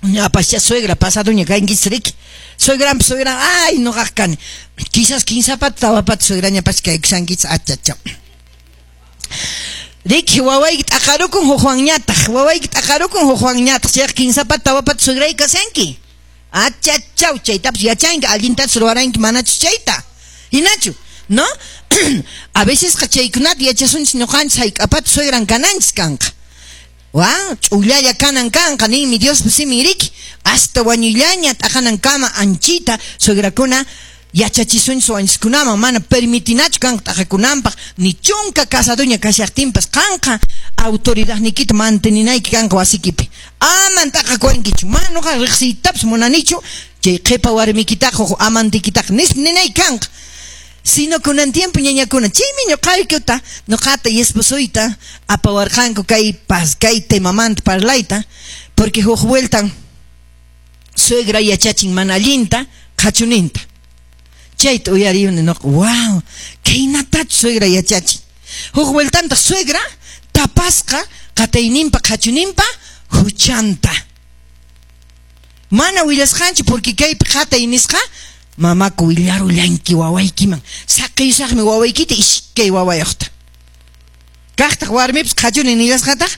Ñapascha suegra pasadoña kankichis riki. Suegranpas suegran, ay, noqaq kani. Quizás kinsapata tawapata suegrañapas kaykushankichis, achacha. Riki, wawayki t'aqarukun hukwanñataq, wawayki t'aqarukun hukwanñataq, chayqa kinsapata tawapata suegray kashanki. Achachaw, chaytapas yachanki, allintachus ruwaranki manachus chayta. Hinachu, no? A vecesqa chaykunata yachasunchis ñuqanchis hayk'apata suegran kananchis kanqa. Wa, ch'ullalla kanan kanqa, ninmi Diospa simin riki, hasta wañuyllaña t'aqanankama anchita suegrakuna yachachisunchis wañuskunaman, mana permitinachu kanqa t'aqakunanpaq, ni chunka casadoña kashaqtinpas qanqa autoridadniykita manteninayki kanqa wasikipi. Aman t'aqakuwankichu, mana nuqa riqsiytapas munanichu, chay qhipa warmikitaqa huk amantikitaqa nispa ninayki kanqa. Sino kunan tiempo ñañakuna, chaymi ñuqaykuta, ñuqata y esposoyta apawarqanku kay pas kay temamanta parlayta, porque huk vueltan suegra yachachin mana allinta qhachuninta. Chayta uyariyuni nuqa, wow, kaynatachu suegra yachachin. Huk vueltantaq suegra tapasqa qatayninpa qhachuninpa huchanta. Mana willasqanchu porque kaypi qatay nisqa mamaku willarullanki wawaykiman, saqiyusaqmi wawaykita iskay wawayuqta. Kaqtaq warmipas qhachuni nillasqataq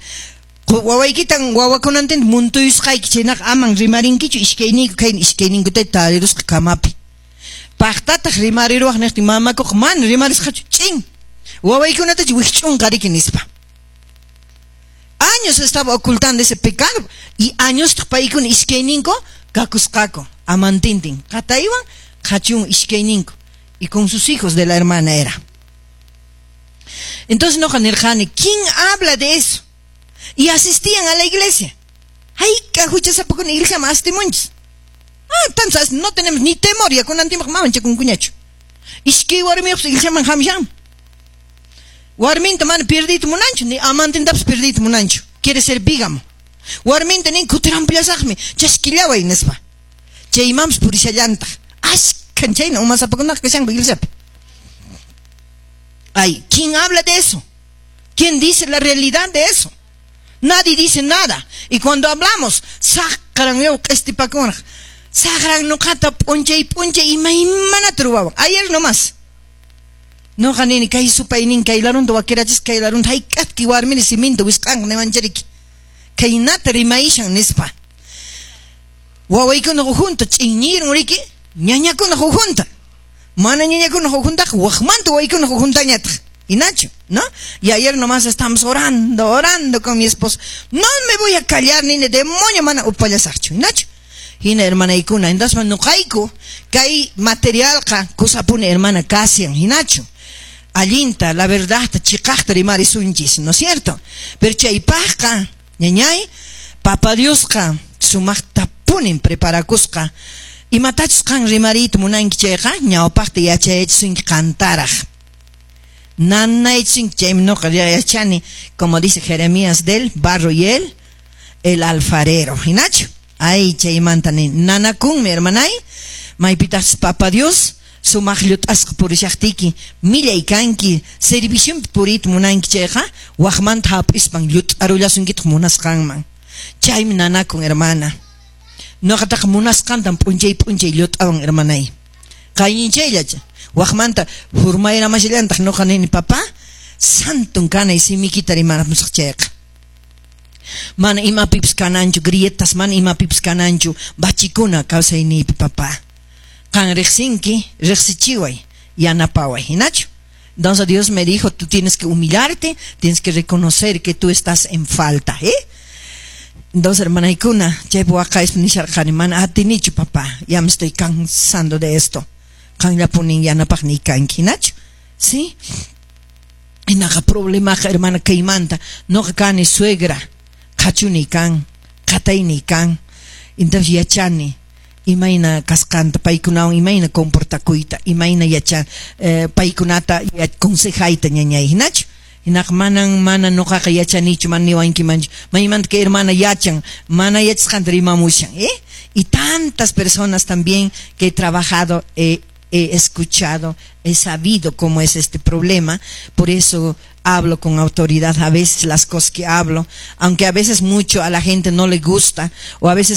wawaykitan wawakunantinta muntuyusqayki, chaynaqa aman rimarinkichu iskayniyku khayna iskayninkuta tarirusqa kamapi. Paqtataq rimariruwaq niqtin mamakuqa mana rimarisqachu, ch'in wawaykunatachu wikch'unqa riki nispa. Años estaba ocultando ese pecado y añostaq paykuna iskayninku kakusqaku amantintin qataywan qhachun iskayninku y con sus hijos de la hermana era. Entonces noqa nirqani, ¿quién habla de eso? Y asistían a la iglesia. Hayka huchasapakuna iglesiaman astimunchis. Ah, tanto no tenemos ni temor, ya kunan tiempo manchakunkuñachu. Iskay warmiyuqpas iglesiaman hamushan. Warminta mana perdiyta munanchu, ni amantintapas perdiyta munanchu. Quiere ser bígamo. Warminta nin kutirampullasaqmi, chaskillaway nispa. Chaymanpas purishallantaq. Ashkan chayna umasapakunaqa kashanku iglesiapi. Ay, ¿quién habla de eso? ¿Quién dice la realidad de eso? Nadie dice nada. Y cuando hablamos, saqran yaw q'estipakunaq. Saqran nuqata p'unchay p'unchay imaymanata ruwawan. Ayer nomás. Noqa nini kay supaynin kay larunta wakirachis kay larunta hayk'atki warmini siminta wisq'anqa niwanchariki. Kaynata rimayishan nispa. Wawaykuna hujunta ch'inñirun riki, ñañakuna hujunta. Mana ñañakuna hujuntaqa waqmanta wawaykuna hujuntañataq. Hinachu, ¿no? Y ayer nomás estamos orando, orando con mi esposo. No me voy a callar ni de demonio mana upallasaqchu, hinachu. Hina hermanaykuna, entonces nuqayku kay materialqa kusapuni hermana kasian, hinachu. Allinta, la verdad, chiqaqta rimarisunchis, ¿no es cierto? Pero chaypaqqa, ñañay, Papa Diosqa sumaqtapunin preparakusqa. Imatachus qan rimariyta munanki chayqa, ñawpaqta yachayachisunki qantaraq. Nanaychisunki chaymi nuqa yachani, como dice Jeremías del barro y el alfarero, hinachu. Ay, chaymanta ni nanakunmi, hermanay, maypitaqchus Papa Dios sumaq llut'asqa purishaqtiyki, millay kanki, servicionpi puriyta munanki chayqa, waqmanta hap'ispan llut'arullasunkitaq munasqanman. Chaymi nanakun, hermana. Nuqataqa munasqantan p'unchay p'unchay llut'awan, hermanay. Qayninchayllacha. Waqmanta hurmayramashallantaq nuqa nini, papá, santon kanay simikita rimaramusaq chayqa. Mana imapipis kananchu, grietas mana imapipis kananchu, bachikuna kawsayniypi, papá. Qan riqsinki, riqsichiway, yanapaway, hinachu. Entonces Dios me dijo, tú tienes que humillarte, tienes que reconocer que tú estás en falta, ¿eh? Entonces, hermanaykuna, chaypi waqayspa nisharqani, mana atinichu, papá, ya me estoy cansando de esto. Qanllapunin yanapaqniy kanki, hinachu. ¿Sí? Hinaqa problemaqa, hermana, kaymanta, nuqa kani suegra, qhachuni kan, qatayniy kan. Entonces yachani imayna kasqanta, paykunawan imayna comportakuyta, imayna yacha paykunata consejayta ñañay, hinachu. Hinaqa manan mana nuqaqa yachanichu, mana niwankimanchu. Maymanta kay hermana yachan, mana yachasqanta rimamushan, ¿eh? Y tantas personas también que he trabajado, he escuchado, he sabido cómo es este problema, por eso hablo con autoridad a veces las cosas que hablo, aunque a veces mucho a la gente no le gusta, o a veces